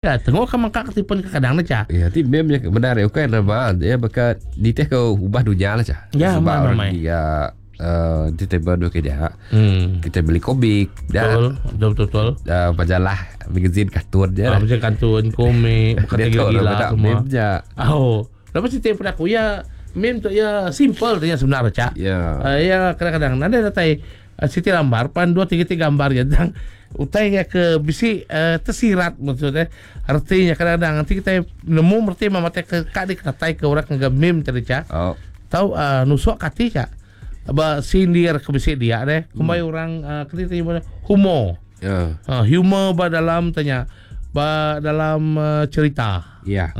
Ya, tengok ke mangka ke tipun kekadang ne cha. Ya, ti meme nya bendar ya ukai nama ya baka nitih ke ubah dunya lah cha. Ya, Sebab amai, orang amai. dia uh, entertainment dua kerja. Kita beli komik, dah Betul, betul betul. betul. Majalah, magazine, kartun je Ah, lah. macam kartun, komik, bukan Dia tu orang gila-gila tak semua. meme je. Oh, lepas itu pada aku ya meme tu ya simple tu ya sebenarnya cak. Ya. Ya kadang-kadang nanti datai siti lambar pan dua tiga tiga gambar ya tentang utai ya ke bisi tersirat maksudnya artinya kadang-kadang nanti kita nemu berarti mama teh ke kak di kenatai ke orang ke meme tadi cak. Oh. Tahu nusuk kati cak. Ba sindir ke bisi dia deh. Kumbai orang kena tanya humor. Ya. Humor ba dalam tanya ba dalam cerita. Ya.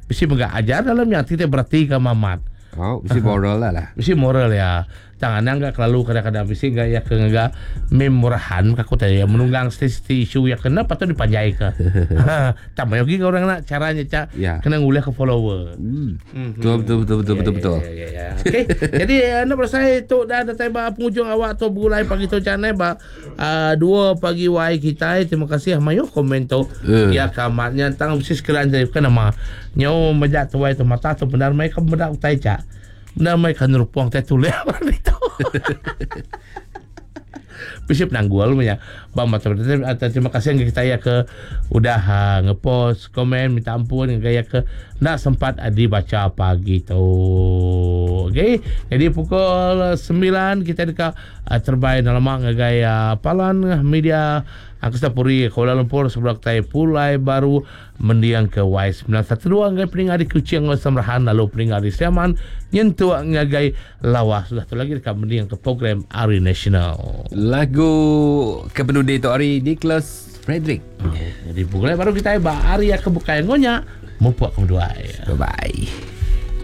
Bisi mega ajar dalamnya tidak berarti ke mamat. Oh, bisi moral lah lah. Bisi moral ya. Tangan enggak kelalu kadang-kadang bisi enggak ya ke enggak meme murahan aku tanya ya menunggang seti isu ya kena patut dipanjai ke. Tak mau lagi orang nak caranya cak Ya. kena nguliah ke follower. Betul betul betul betul betul betul. Ya, ya, ya. Okey. Jadi anda berasai tu dah ada ba penghujung awak tu bergulai pagi tu canai ba 2 pagi wai kita. Terima kasih mayo komen tu. Ya kamatnya tentang mesti sekalian jadi bukan nama. Nyau majak tu wai tu mata tu benar mai ke benar utai cak. Benar mai kan rupuang teh tulis apa itu. Bisa penanggul punya. Bang mata terima kasih yang kita ya ke udah ngepost komen minta ampun yang gaya ke nak sempat dibaca pagi tu. Okey. Jadi pukul 9 kita dekat terbaik dalam gaya Palan Media Angkasa Puri Kuala Lumpur sebelah kita Pulai Baru mendiang ke Y912 ngai peningat di Kuching Samrahan lalu peningat di Siaman nyentuh ngagai Lawas sudah tu lagi dekat mendiang ke program Ari Nasional. Lagu kepenudi tu hari Nicholas Frederick. Jadi pukul baru kita ba Ari ke bukai ngonya mupuk ke berdua. Bye bye.